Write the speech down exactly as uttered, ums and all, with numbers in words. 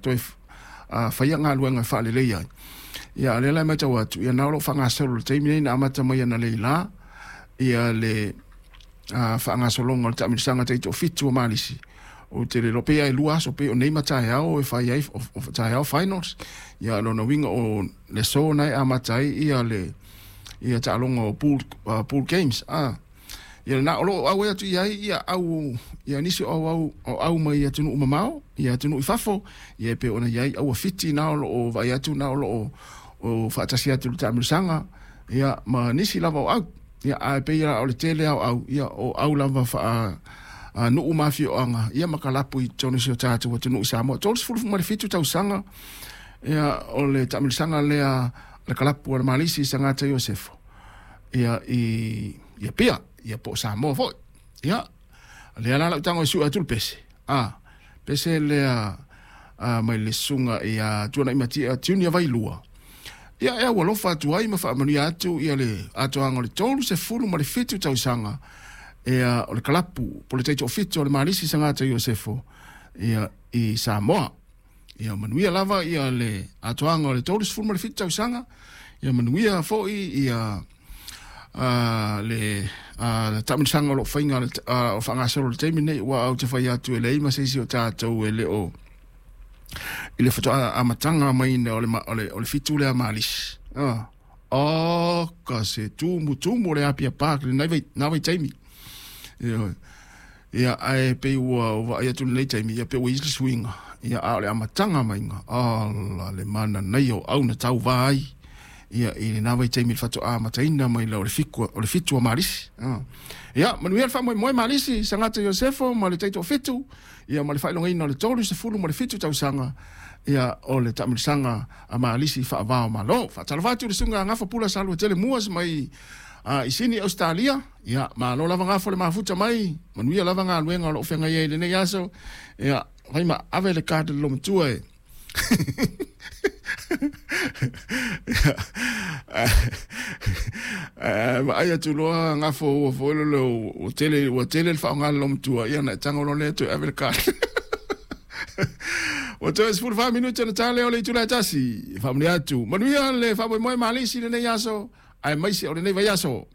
toe faia galuega e faaleleia ai. Ia a lea la e matau atu, ia na o loo faagasolo le taimi nei na amata mai analeila ia le faagasologa o le taamilosaga taitoafitu o Malisi. Ou te le iloa pe ai lua aso pe o nei ma taeao e fai ai o taeao finals. Ia lona uiga o le aso na e amata ai ia le ia taaloga o pool, uh, pool games. Ah. Ia na o loo auai atu i ai ia au ia nisi o au o au mai atunuu mamao, ia atunuu i fafo, ia e pei ona i ai aua fiti na o loo vaai atu na o loo o faatasi atu le taamilosaga ia ma nisi lava o au. Ia ae pei o le tele ao au ia o au lava faa nuu ma afioaga ia ma kalapu i totonu o si o tatou atunuu i Samoa. Tolusefulu ma le fitu tausaga ia o le taamilosaga lea le kalapu a le Malisi Sagata Iosefo ia i ia Apia ia po o Samoa foi. Ia lea la lau tago e sue atu le pese a pese lea a, mai le susuga ia Tuanai Matia Junior Vailua. Ia e aualofa atu ai ma faamanuia atu ia le atoaga o le tolusefulu ma le fitu tausaga ia o le kalapu po le taitoafitu o le Malisi Sagata Iosefo ia i Samoa. Ia manuia lava ia le atoaga o le tolusefulu ma le fitu tausaga. Ia manuia foi ia uh, le uh, taamilosaga o loo faiga uh, o faagasolo le taimi nei ua au te fai atu e leai ma se isi o tatou e le o i le faatoa amataga mai o le, o le, o le fitu lea Malisi. Ah. Oh, ka se tumu tumu le Apia Park le nai na vai taimi. Ia ia ae pei ua vaai atu lenei taimi ia pe ua i le suiga ia a o le amataga maiga ala le mana nei o au na tauvā ai ia i lena vaitaimi le faatoa amataina mai la o le fiku o le fitu o Malisi. Ah. Ia manuia le faamoemoe Malisi Sagata Iosefo ma le taitoafitu ia ma le faailogaina o le tolusefulu ma le fitu tausaga ia o le taamilosaga a Malisi faavao malo. Faatalofa atu le susuga Gafa Pula Salua Tele Muas mai uh, i Sini Australia. Ia malo lava gafo le mafuta mai, manuia lava galuega o loo feagai ai lenei aso. Ia fai ma ave le card le lomatua e. Vaai atu loa gafo ua foi le ua tele ua tele le faaaoga le lomatua ia na e tago loa lea toe ave le card. Ua toe sefulu fa minute na tale o le itula e tasi. Faamanuia atu. Manuia le faamoemoe Malisi lenei aso aemaise o lenei vaiaso.